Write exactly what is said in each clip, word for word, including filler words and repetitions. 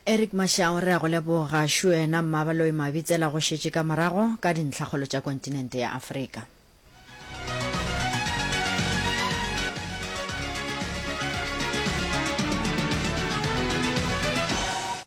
Eric Mashau, re a go leboga. Šo yena Mmabaloi Mabitsela go šetše ka morago ka dintlhakgolo tša kontinente ya Afrika.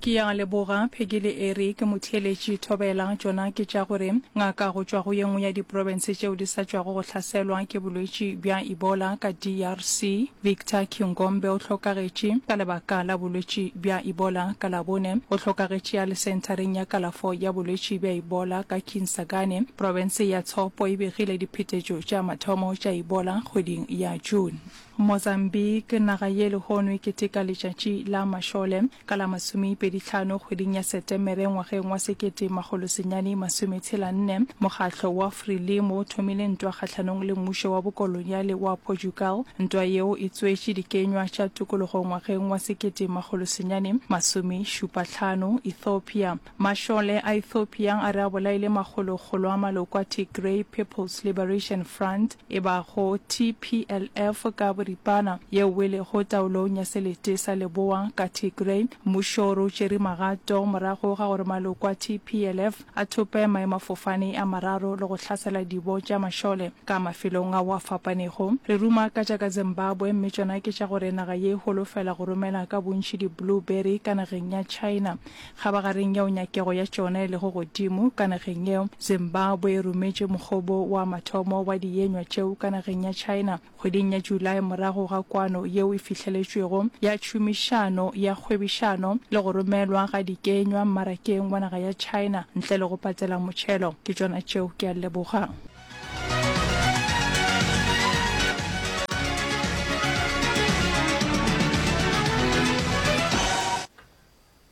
Ke a leboga, Peggy le Eric. Motheeletši, Thobela, tšona ke tša gore ngaka go tšwa go ye nngwe ya diprofense tšeo di sa tšwago go hlaselwa ke bolwetši bja Ebola ka DRC, Victor Kingombe o hlokagetše ka lebaka la bolwetši bja Ebola ka Labone. O hlokagetše a le senthareng ya kalafo ya bolwetši bja Ebola ka Kinsangani. Profense ya Tshopo e begile diphetetšo tša mathomo tša Ebola kgweding ya June. Mozambique, naga ye lehono e keteka letšatši la mašole ka la masomepedi hlano kgweding ya Setemere ngwageng wa sekete makgolo senyane masome tshela nne. Mokgatlo wa Frelimo o thomile ntwa kgahlanong le mmušo wa bokoloniale wa Portugal. Ntwa yeo e tswetše dikenywa tša tokologo ngwageng wa sekete makgolo senyane masome šupa hlano. Ethiopia, Mašole a Ethiopia a re a bolaile makgolokgolo a maloko a Tigray People's Liberation Front, e bago TPLF ka boripana, yeo e lego taolong ya selete sa leboa ka Tigray. Mmušo o re o tšere magato morago ga gore maloko a TPLF a thope maemafofane a mararo le go hlasela dibo tša mašole ka mafelong ao a fapanego. Re ruma ka tša ka Zimbabwe mme tšona ke tša gore naga ye e holofela go romela ka bontši di-blueberry ka nageng ya China. Kgabagareng yeo nyakego ya tšona e lego godimo ka nageng yeo, Zimbabwe e rometše mokgobo wa mathomo wa dienywa tšeo ka nageng ya China kgweding ya July morago ga kwano yeo e fihleletšwego ya tšhomišano ya kgwebišano le go romelwa ga dikenywa mmarakeng wa naga ya China ntle le go patela motšhelo. Ke tšona tšeo, ke a leboga.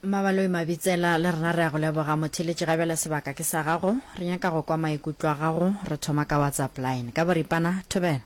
Mmabaloi Mabitsela, le rena re a go leboga. Motheeletši ga bjale sebaka ke sa gago. Re nyaka go kwa maikutlo a gago. Re thoma ka WhatsApp line. Ka boripana, thobela.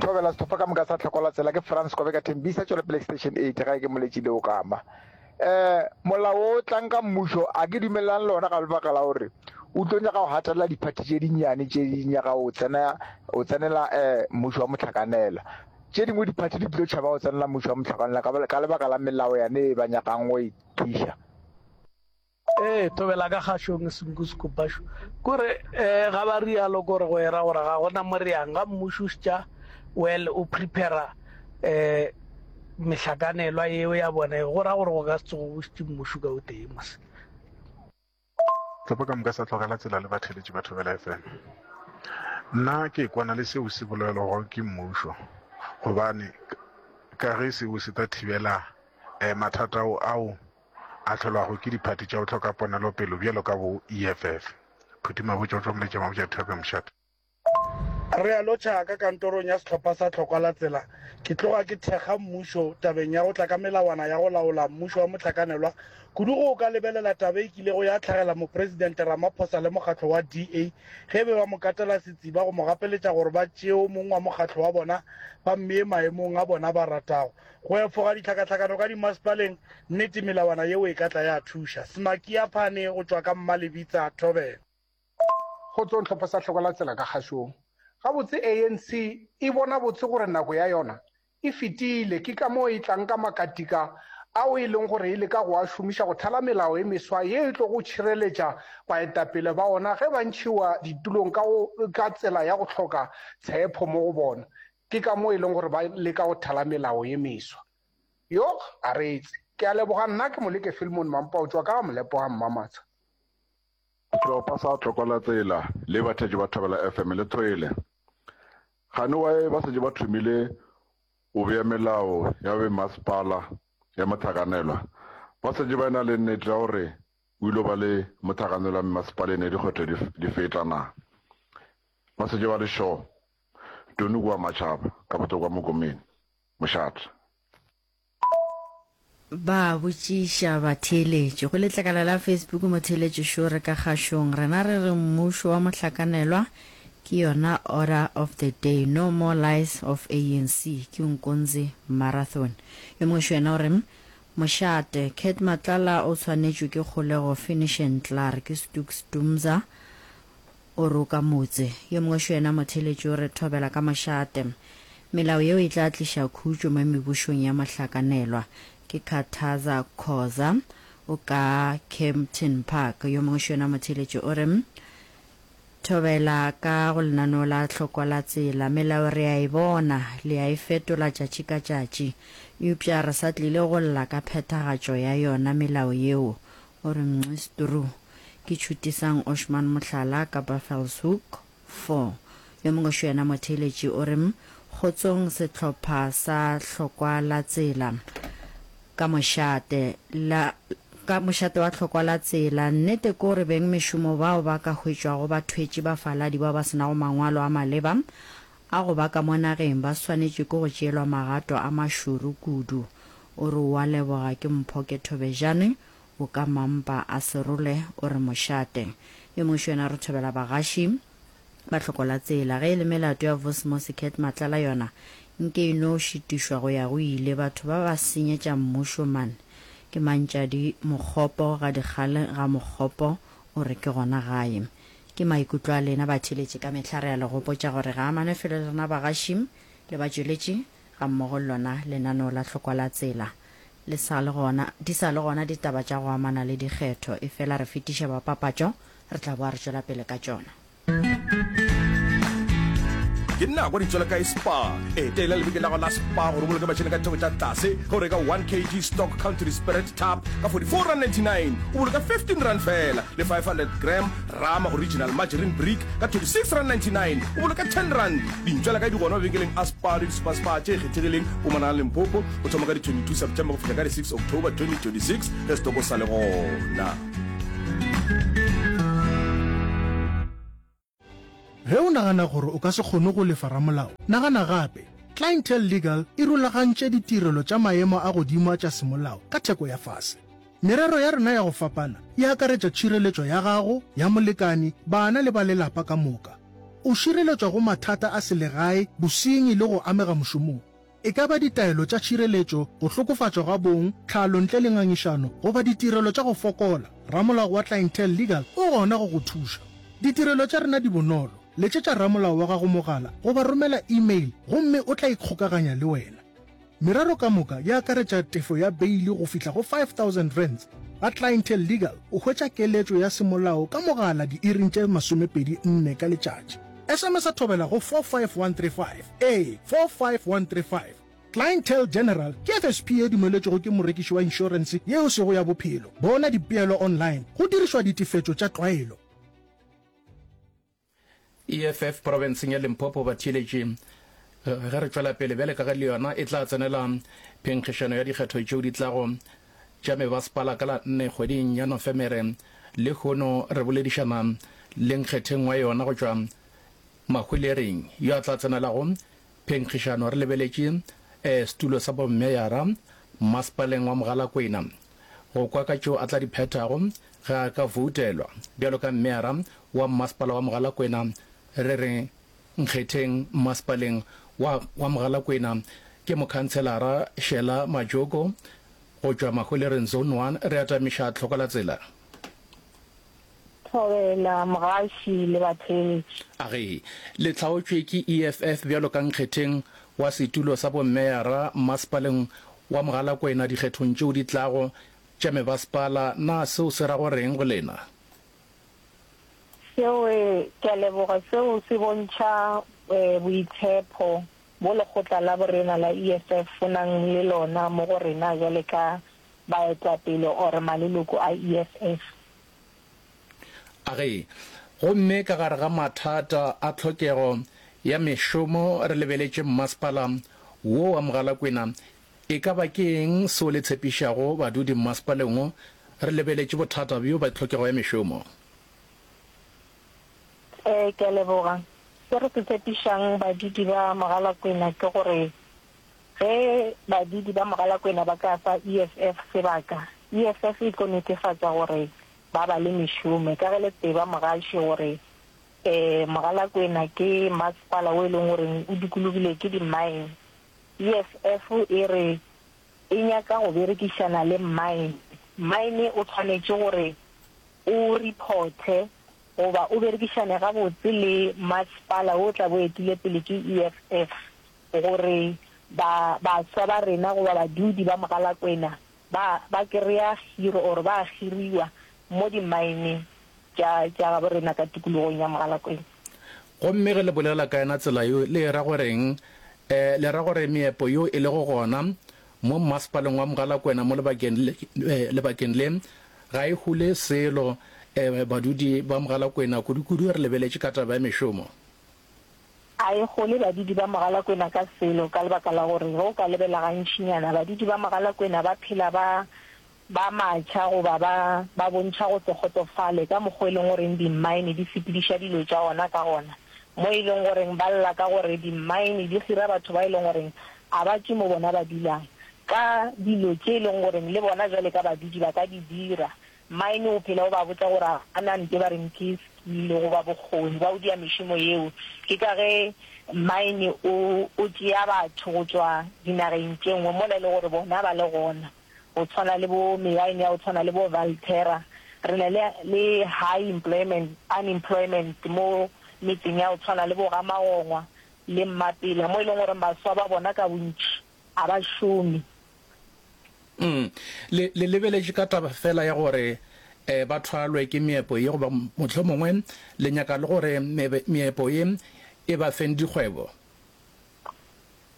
Thobela, sehlopha ka moka sa Tlhokola Tsela ke Frans Kobeka Thembisa Tšwelopele Extension eight gae ke Moletši Leokama. Eh molao wo o tlang ka mmušo a ke dumelelane le ona ka lebaka la gore o tlo nyaka go gatelela diphathi tše dinnyane tše di nyaka go tsena go tsenela eh mmušo wa mohlakanela. Tše dingwe diphathi di tlo tšhaba go tsenela mmušo wa mohlakanelwa ka, ka lebaka la melao yane e ba nyakang go e tliša. Ee, thobela ka kgašong senku sekopašo. Kore eh, ga ba rialo kore go era gore ga gona mo re yang ga mmušo o šetša well o prepara eh mehlakanelwa yeo ya bona go ra gore go ka se tsoge go šetše mmušo ka o tee mos. Sehlopha ka moka sa tlogela tsela le batheeletši ba Thobela F M. Nna ke kwana le seo se bolelwago ke mmušo gobane ka ge seo se tla thibela mathata ao a hlolwago ke diphathi tša go hloka ponelopelo bjalo ka bo E F F. Phuti Mabotja o tšwa Moletša Mabotja Thobela Mošate. Re a lotšha ka kantorong ya sehlopha sa Tlhokwa la Tsela. Ke tloga ke thekga mmušo tabeng ya go tla ka melawana ya go laola mmušo wa mohlakanelwa, kudu ge o ka lebelela taba e kilego ya hlagela Mopresidente Ramaphosa le mokgatlo wa D A ge be ba mo katela setsiba go mo gapeletša gore ba tšee o mongwe wa mokgatlo wa bona ba mmee maemong a bona ba ratago. Go efoga ditlhakatlhakano ka dimasepaleng, nnete melawana yeo e ka tla ya thuša. Smakia Phane go tšwa ka Mmalebitsa, Thobela. Kgotsong hlopha sa Hloko la Tsela ka kgašong. Gabotse A N C e bona botse gore nako ya yona e fetile, ke ka moo e tlang ka makatika ao e leng gore e leka go a šomiša go thala melao e meswa ye e tlogo tšhireletša baetapele ba ona ge ba ntšhiwa ditulong ka go ka tsela ya go hloka tshepho mo go bona. Ke ka moo e leng gore ba leka go thala melao ye meswa. Yoh, a reetse. Ke a leboga nna ke Moleke Filmon Mampa o tšwa ka ga Molepo ga Mmamatsha. Sehlopha sa Tlokwa la Tsela le batheetši ba Thobela F M le thwele. Gane wae ba šetše ba thomile go bea melao ya bomasepala ya mohlakanelwa. Ba šetše ba e-na le nnete ya gore o ile ba le mohlakanelwa mmasepaleng ya dikgetho di, di feta na. Ba šetše ba le sure. Tony kua Matšhaba, ka Botlokwa Mokomene. Mošate. Ba botšiša batheeletši. Go letlakala la Facebook motheeletši šo re ka kgašong. Rena re re mmušo wa mohlakanelwa ke yona order of the day, no more lies of A N C, ke Nkonzi Marathon. Yo mongwe šo yena o re mošate, Cat Matlala o tshwanetšwe ke kgolego finish and klaar, ke Stooks Dumza o roka motse. Yo mongwe šo yena motheeletši o re thobela ka mošate. Melao yeo e tla tliša khutšo mo mebušong ya mohlakanelwa. Ke Khathaza Khoza o ka Kempton Park. Yo mongwe šo yena motheeletši o re, Thobela ka go lenaneo la hlokwa la tsela. Melao re a e bona, le a e fetola tšatši ka tšatši. Eupša re sa tlile go lla ka phethagatšo ya yona melao yeo. O re Mnxistru. Ke Tšhutisang Oshman Mohlala ka Buffelshoek four. Yo mongwe šo yena motheeletši o re, Kgotsong sehlopha sa hlokwa la tsela. Ka mošate la ka mošate wa hlokwa la tsela. Nnete ke gore beng mešomo bao ba ka hwetšwago ba thwetše bafaladi bao ba se nago mangwalo a maleba a go ba ka mo nageng ba swanetšwe ke go tšeelwa magato a mašoro kudu. O re o a leboga ke Mphoke Thobejane o ka mampa a Serole o re mošate. Yo mongwe šo yena re thobela bagaši ba hloko la tsela. Ge e le melato ya Vosmos Cat Matlala yona nke e no šitišwa go ya go ile. Batho ba ba senyetša mmušo man. Ke Mantšadi Mokgopo ga Dikgale ga Mokgopo o re ke gona gae. Ke maikutlo a lena batheeletši ka mehla re a le gopotša gore ga amane felo le rena bagaši le batšweletši ga mmogo le lona lenaneo la hlokwa la tsela le sa le gona di sa le gona ditaba tša go amana le dikgetho efela re fetiša bapapatšo re tla boa re tšwela pele ka tšona. Ke nako di tšwela kae Spar? Etela lebenkele la gago la Spar gore o boloke mašeleng ka ditheko tša tlase ge o reka one kg Stock Country Spirit Tub ka forty four rand ninety nine, o boloka fifteen rand feela, le five hundred gram Rama Original Margarine Brick ka twenty six rand ninety nine, o boloka ten rand. Dintšwela kae di gona mabenkeleng a Spar le di-Super-Spar tše kgethegileng Mpumalanga le Limpopo go thoma ka di twenty two September go fihla ka di six October twenty twenty six ge setoko sa le gona. Ge o nagana gore o ka se kgone go lefa ramolao, nagana gape. Clientele Legal e rulagantše ditirelo tša maemo a godimo a tša semolao ka theko ya fase. Merero ya rena ya go fapana e akaretša tšhireletšo ya gago, ya molekani, bana le ba lelapa ka moka. O šireletšwa go mathata a selegae, bosenyi le go amega mošomong. E ka ba ditaelo tša tšhireletšo, go hlokofatšwa ga bong, tlhalo ntle le ngangišano, goba ditirelo tša go fokola, ramolao wa Clientele Legal o gona go go thuša. Ditirelo tša rena di bonolo, letšetša ramolao wa gago mogala goba romela email gomme o tla ikgokaganya le wena. Merero ka moka e akaretša tefo ya beili go fihla go five thousand rands. Ga Clientele Legal o hwetša keletšo ya semolao ka mogala diiring tše masomepedi nne ka letšatši. S M S a thobela go four five one three five, ee, four five one three five. Clientele General ke F S P ye dumeletšwego ke morekiši wa inšorense ye e sego ya bophelo. Bona dipeelo online go dirišwa ditefetšo tša tlwaelo. E F F profenseng ya Limpopo batheeletši ge re tšwela pele bjale ka ge le yona e tla tsenela phenkgišano ya dikgetho tšeo di tlago tša mebasepala ka la nne kgweding ya Nofemere. Lehono re boledišana le nkgetheng wa yona go tšwa Mahwelereng yo a tla tsenelago phenkgišano re lebeletše setulo sa bommeyara mmasepaleng wa Mogalakwena go kwa ka tšeo a tla di phethago ge a ka voutelwa bjalo ka mmeyara wa mmasepala wa Mogalakwena. Re re nkgetheng mmasepaleng wa wa Mogalakwena ke mokhantshelara Shela Majoko go tšwa Mahwelereng Zone one. Re atamiša tlhoko la tsela. Thobela, mogaši le batheeletši. A ge le hlaotšwe ke E F F bjalo ka nkgetheng wa setulo sa bommeyara mmasepaleng wa Mogalakwena dikgethong tšeo di tlago tša mebasepala, na seo se ra go reng go lena? Seo, ke a leboga, seo se bontšha boitshepo bo lekgotla la borena la E F F bo nang le lona mo go rena bjale ka baetapele or maleloko a E F F. A ge, gomme ka gare ga mathata a tlhokego ya mešomo re lebeletše mmasepala wo wa Mogalakwena, e ka ba ke eng seo le tshepišago badudi mmasepaleng wo re lebeletše bothata bjo bja tlhokego ya mešomo? Ee, ke a leboga. Se re se tshepišang badudi ba Mogalakwena ke gore ge badudi ba Mogalakwena ba ka fa E F F sebaka, E F F e tlo netefatša gore ba ba le mešomo. Ka ge le tseba mogaši gore um Mogalakwena ke masepala wo e leng gore o dikologile ke di-mine, E F F e re e nyaka go berekišana le mine. Mine o tshwanetše gore o reporte goba o berekišane gabotse le masepala wo tla bo etile pele ke E F F. gore ba baswa ba rena goba badudi ba Mogalakwena ba ba kereya hiro or ba hiriwa mo dimmaeneng tša tša gabo rena ka tikologong ya Mogalakwena. Gomme ge le bolela ka yona tsela yeo, le e ra go reng? E, le ra gore meepo yeo e lego gona mo mmasepaleng wa Mogalakwena mo lebakeng le, lebakeng le, ga e hole selo, e, badudi ba Mogalakwena, kudu-kudu re lebeletše ka taba ya mešomo? A e hole badudi ba Mogalakwena ka selo, ka lebaka la gore ge o ka lebela gantšinyana, badudi ba Mogalakwena ba phela ba ba matšha goba ba ba bontšha go se kgotsofale ka mokgwa e leng goreng dimmaene di sepediša dilo tša ona ka gona, mo e leng goreng ba lla ka gore dimmaene di hira batho ba e leng goreng a ba tšwe mo bona ba dulang, ka dilo tše e leng goreng le bona bjale ka badudi ba ka di dira. Mmaene o phela o ba botša gore a ba na nto ba reng ke skill goba bokgoni ba go dia mešomo yeo. Ke ka ge mmaene o o tšea batho go tšwa dinageng tše nngwe mola e le gore bona ba le gona. Go tshwana le bo meaene ya go tshwana le bo Valterra. Re na le le high employment, unemployment mo metseng ya go tshwana le bo Ga-Magongwa le Mmapela mo e leng gore baswa ba bona ka bontši a ba šome. Mm. Le, le lebeletše ka taba feela ya gore eh, ba thwalwe ke meepo ye goba mohlomongwe le nyaka le gore mebe, meepo ye e ba feng dikgwebo?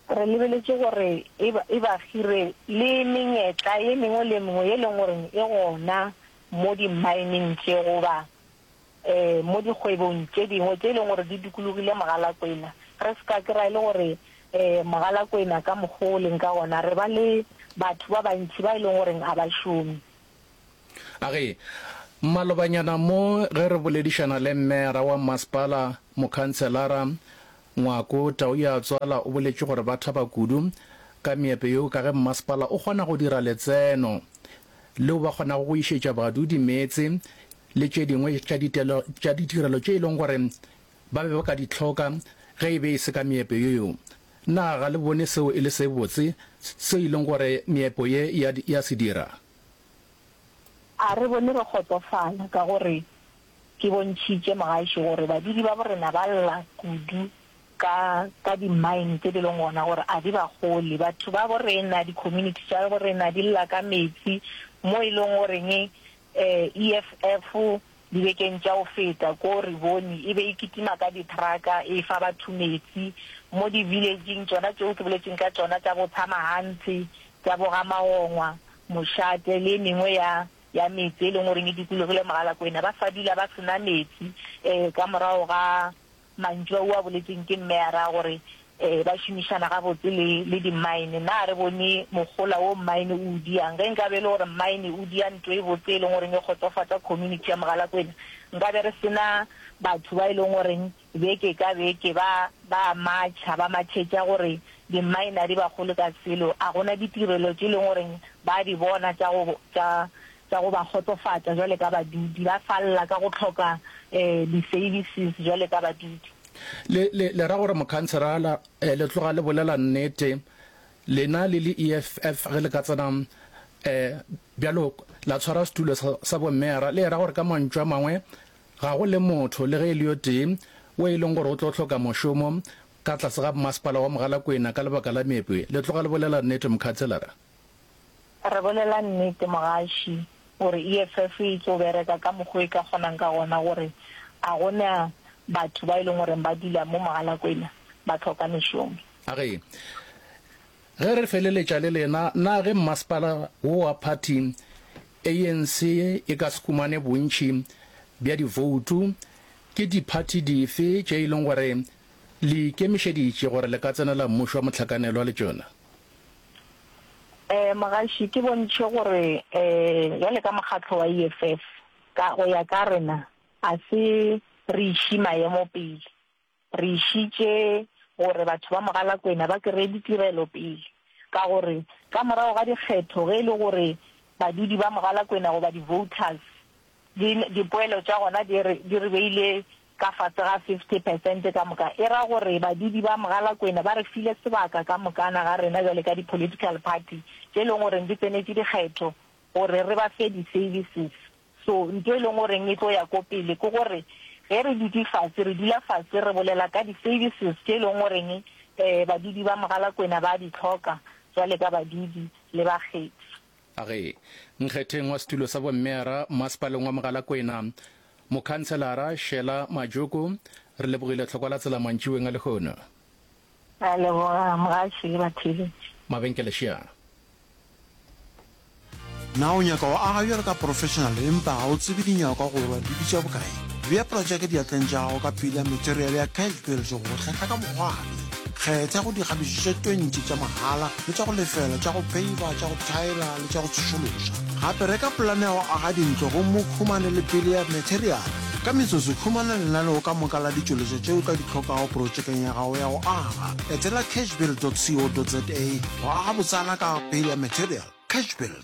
Re lebeletše gore e ba, e ba hire le menyetla ye mengwe le ye mengwe ye e leng gore e gona mo dimmaeneng tše goba um mo dikgwebong tše dingwe tše e leng gore di dikologile Mogalakwena. Re se ka kry-a e le gore um Mogalakwena ka mokgwa o leng ka gona re ba le batho ba bantši ba e leng gore a ba šome. A re, Malobanyana mo ge re boledišana le Mmeara wa Mmasepala, Mokhanselara Ngwako Tauyatswala o boletše gore ba thaba kudu ka meepo yeo ka ge mmasepala o kgona go dira letseno leo ba kgonago go išetša badudi meetse le tše dingwe tša tša ditirelo tše e leng gore ba be ba ka di hloka ge e be e se ka meepo yeo. Na ga le bone seo e le se botse seo e leng gore meepo ye ya ya se dira? A re bone re kgotsofala ka gore ke bontšhitše mogaši gore badudi ba borena ba lla kudu ka, ka di-mine tše di leng gona gore a di ba gole. Batho ba borena, di-community tša borena di lla ka meetse mo e leng goreng E F F dibekeng tša go feta ko re bone e be e kitima ka di-truck-a e fa batho meetse mo di-village-ing tšona tšeo ke boletšeng ka tšona tša bo Tshamahantse, tša bo Ga-Magongwa, Mošate le e mengwe ya ya metse e leng goreng e dikologile Mogalakwena ba sa dula ba se na meetse um ka morago ga mantšu ao a boletsweng ke mmeyara gore um ba šomišana gabotse le le dimmaene. Na re bone mogola wo mmaene o o diang? Ge nkabe e le gore mmaene o dia nto e botse e leng goreng e kgotsofatša community ya Mogalakwena, nkabe re se na batho ba e leng goreng beke ka beke ba ba matšha ba matšhetša gore dimmaene a di ba gole ka selo. A gona ditirelo tše e leng goreng ba di bona tša go tša tša go ba kgotsofatša jwale ka badudi. Ba falla ka go hloka um di-services jwale ka badudi. Le, le, le ra gore mokhanserala, eh, le tloga le bolela nnete, lena le le E F F ge le ka tsena, eh, bjalo la tshwara setulo sa, sa bommeyara, le ra gore ka mantšu a mangwe ga go le motho le ge e le yo tee wo e leng gore o tlo hloka mošomo ka tlase ga mmasepala wa Mogalakwena ka lebaka la meepo ye. Le tloga le bolela nnete, mokhanselara? Re bolela nnete, mogaši, gore E F F e tlo bereka ka mokgwa e ka kgonang ka gona gore a go na batho ba e leng gore ba dula mo Mogalakwena ba hloka mešomo. A re, Ge re feleletša le lena, na ge mmasepala wo wa phathi A N C e ka se humane bontši bja divoutu, ke diphathi dife tše e leng gore le ikemišeditše gore le ka tsenela mmušo wa mohlakanelwa le tšona? Um Mogaši, ke bontšhe gore um bjale ka mokgatlo wa E F F, ka go ya ka rena, a se re iše maemo pele. Re išitše gore batho ba Mogalakwena ba kreye ditirelo pele, ka gore ka morago ga dikgetho ge e le gore badudi ba Mogalakwena goba di-voters di, dipoelo tša gona di re, di re beile ka fase ga fifty percent ka moka, e ra gore badudi ba Mogalakwena ba re file sebaka ka mokana ga rena bjale ka di-political party tše e leng gore di tsenetše dikgetho gore re ba fe di-services. So ntho e leng goreng e tlo ya ko pele ke gore ge re dutše fase, re dula fase re bolela ka di-services tše e leng goreng badudi ba Mogalakwena ba di hloka bjale ka badudi le bakgethi. A ge nkgetheng wa setulo sa bommeyara masepaleng wa Mogalakwena, Mokhanselara Sheila Majoko, re lebogile tlhokwa la tsela mantšiboeng a lehono. Re a leboga mogaši le batheeletši. Mabenkele šea. Na o nyaka go aga bjalo ka professional empa ga o tsebe dinyakwa goba di bitša bokae? Bea projeke diatleng tša gago ka pele ya materiale ya Cash Build go go hlahla ka bokgwari. Kgetha go dikgabišo tše twenty tša mahala le tša go lefela tša go peiva, tša go thaela le tša go tsošološa. Gape reka polane ya go aga dintlo gomme o humane le pele ya materiale. Ka metsotso, humana lenaneo ka moka la ditšweletšwa tše o tla di hlokago projekeng ya gago ya go aga. Etela cashbuild dot co dot za go aga botsana ka pele ya material. Cashbuild.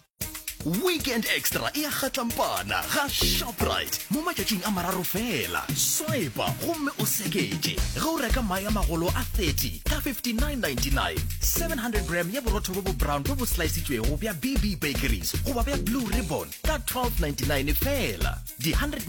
Weekend Extra e a kgatlampana ga Shoprite mo matšatšing a mararo feela. Swipa gomme o seketše ge o reka mae a magolo a thirty ka fifty-nine ninety-nine, seven hundred gram ya borotho bjo bo brown bjo bo slaisitšwego bja B B Bakeries goba bja Blue Ribbon ka twelve ninety-nine feela, di hundred